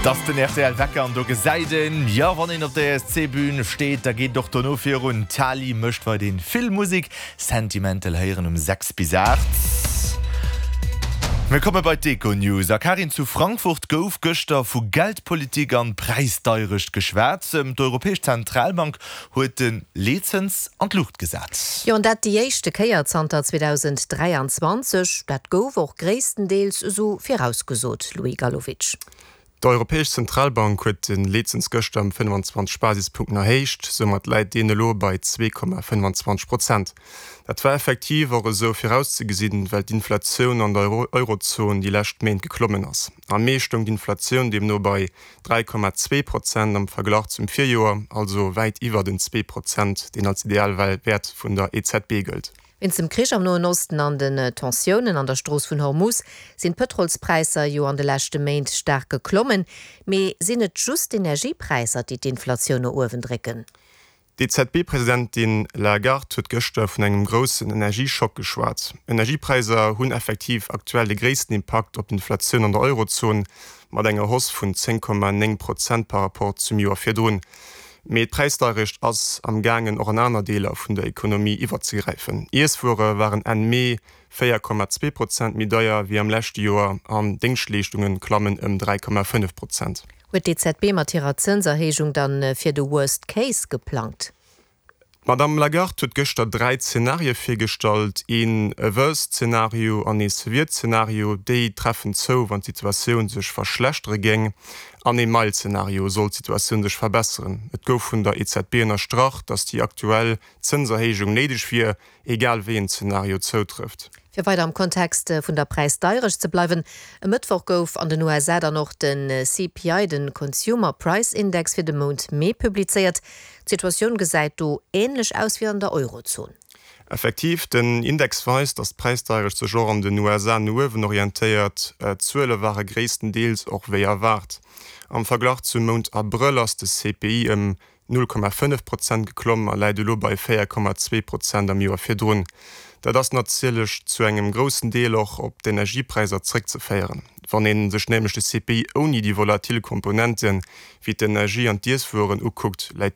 Et ass den rtl Wecker an do gesäit een, jo wann een op der ESC-Bühn steet, da geet et och dono virun. D'Tali mécht weiderhin vill Musek. Sentimental héieren um 6 bis 8. Mir komme bei d'Econews. A Karin, zu Frankfurt gouf gëschter vu Geldpolitik an Präisdeierecht geschwat. D'Europäesch Zentralbank huet de Leetzëns an d'Luucht gesat. Jo, an dat déi éischte Kéier zanter 2023. Dat gouf och gréisstendeels esou virausgesot, Louis Galowitsch. D'Europäesch Zentralbank huet de Leetzëns gëschter ëm 25 Basispunkten erhéicht. Soumat läit deen elo bei 2,25 Prozent. Dat war effektiv och esou virauszegesinn, well d'Inflatioun an der Eurozon déi lescht Méint geklommen ass. Am Mee stoung d'Inflatioun deemno bei 3,2 Prozent am Verglach zum Virjoer, also wäit iwwer den 2 Prozent, deen als Idealwäert vun der EZB gëllt. Wéinst dem Krich am Noen Osten an den Tensiounen an der Strooss vun Hormuz sinn d'Pëtrolspräisser jo an de leschte Méint staark geklommen. Mee sinn et just d'Energiepräisser, déi d'Inflatioun no uewen drécken? D'EZB-Presidentin Lagarde huet gëschter vun engem groussen Energieschock geschwat. Energiepräisser hunn effektiv aktuell de gréissten Impakt op d'Inflatioun an der Eurozon, mat enger Hausse vun 10,9 Prozent par Rapport zum Joer virdrun. Mee d'Präisdeierecht ass am gaangen och an aner Deeler vun der Ekonomie iwwerzegräifen. Iesswuere waren Enn Mee 4,2 Prozent méi deier wéi am leschte Joer an Déngschtleeschtunge klammen ëm 3,5 Prozent. Huet d'EZB mat hirer Zënserhéijung dann fir de Worst Case geplangt? D'Madamm Lagarde huet gëschter 3 Zenarie virgestallt, een Worst-Zenario an ee Severe-Zenario. Déi treffen zou, wann d'Situatioun sech verschlechtere géing, an ee Mild-Zenario, sollt d'Situatioun sech verbesseren. Et gouf vun der EZB ënnerstrach, datt déi aktuell Zënserhéijung néideg wier, egal wéi een Zenario zoutrëfft. Fir weider am Kontext vun der Präisdeierecht ze bleiwen, E Mëttwoch gouf an den USA dann och de CPI, de Consumer Price Index fir de Mount Mee publizéiert. D'Situatioun gesäit do änlech aus wéi an der Eurozon. Effektiv, den Index weist, datt d'Präisdeierecht sech och an den USA no uewen orientéiert. D'Zuele ware gréisstendeels och wéi erwaart. Am Verglach zum Mount Abrëll ass de CPI ëm 0,5 Prozent geklomm a läit elo bei 4,2 Prozent am Joer virdrun. Dat ass natierlech zu engem groussen Deel och op d'Energiepräisser zréckzeféieren. Wann ee sech nämlech de CPI ouni déi volatil Komponente wéi d'Energie an d'Iesswueren ukuckt, läit.